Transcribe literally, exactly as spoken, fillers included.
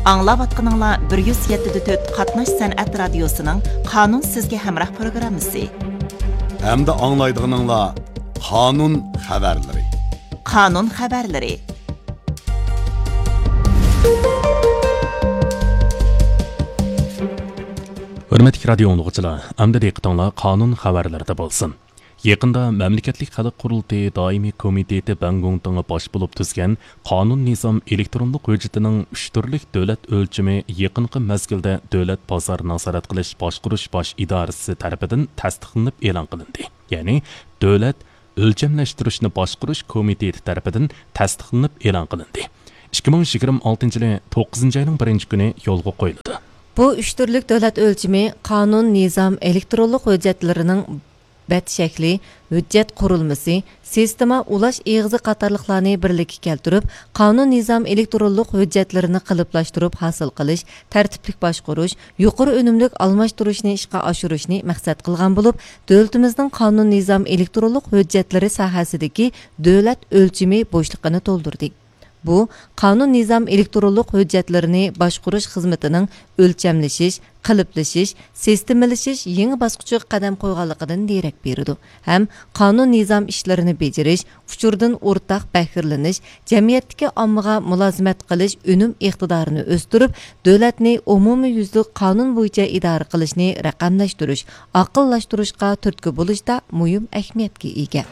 ئاڭلاۋاتقىنىڭلار بىر يۈز يەتتە دە تۆت قاتناش سەنئەت رادىيوسىنىڭ قانۇن سىزگە ھەمراھ پروگراممىسى. ھەمدە ئاڭلايدىغىنىڭلار قانۇن خەۋەرلىرى. قانۇن خەۋەرلىرى. ھۆرمەتلىك رادىيو ئاڭلىغۇچىلار، ئەمدى دىققىتىڭلار قانۇن خەۋەرلىرىدە بولسۇن. يېقىندا مەملىكەتلىك خەلق قۇرۇلتىيى دائىمىي كومىتېتى بەڭگوڭتىڭى باش بولۇپ تۈزگەن قانۇن نىزام ئېلېكترونلۇق ھۆججىتىنىڭ ئۈچ تۈرلۈك دۆلەت ئۆلچىمى يېقىنقى مەزگىلدە دۆلەت بازار نازارەت قىلىش باشقۇرۇش باش ئىدارىسى تەرىپىدىن تەستىقلىنىپ ئېلان قىلىندى. يەنى دۆلەت ئۆلچەملەشتۈرۈشنى باشقۇرۇش كومىتېتى تەرىپىدىن تەستىقلىنىپ ئېلان قىلىندى. ئىككى مىڭ يىگىرمە ئالتىنچى يىلى توققۇزىنچى ئاينىڭ بىرىنچى كۈنى يولغا قويۇلىدۇ. بۇ ئۈچ تۈرلۈك دۆلەت ئۆلچىمى قانۇن نىزام ئېلېكترونلۇق ھۆججەتلىرىنىڭ بەت شەكلى، ھۆججەت قۇرۇلمىسى، سىستېما ئۇلاش ئېغىزى قاتارلىقلارنى بىرلىككە كەلتۈرۈپ، قانۇن نىزام ئېلېكترونلۇق ھۆججەتلىرىنى قېلىپلاشتۇرۇپ ھاسىل قىلىش، تەرتىپلىك باشقۇرۇش، يۇقىرى ئۈنۈملۈك ئالماشتۇرۇشنى ئىشقا ئاشۇرۇشنى مەقسەت قىلغان بولۇپ، دۆلىتىمىزنىڭ قانۇن نىزام ئېلېكترونلۇق ھۆججەتلىرى ساھەسىدىكى دۆلەت ئۆلچىمى بوشلۇقىنى تولدۇردى. بۇ، قانۇن نىزام ئېلېكترونلۇق ھۆججەتلىرىنى باشقۇرۇش خىزمىتىنىڭ ئۆلچەملىشىش، قېلىپلىشىش، سىستېمىلىشىش يېڭى باسقۇچىغا قەدەم قويغانلىقىدىن دېرەك بېرىدۇ ھەم قانۇن نىزام ئىشلىرىنى بېجىرىش، ئۇچۇردىن ئورتاق بەھرىلىنىش، جەمئىيەتتىكى ئاممىغا مۇلازىمەت قىلىش ئۈنۈم ئىقتىدارىنى ئۆستۈرۈپ، دۆلەتنى ئومۇميۈزلۈك قانۇن بويىچە ئىدارە قىلىشنى رەقەملەشتۈرۈش، ئاقىللاشتۇرۇشقا تۈرتكە بولۇشتا مۇھىم ئەھمىيەتكە ئىگە.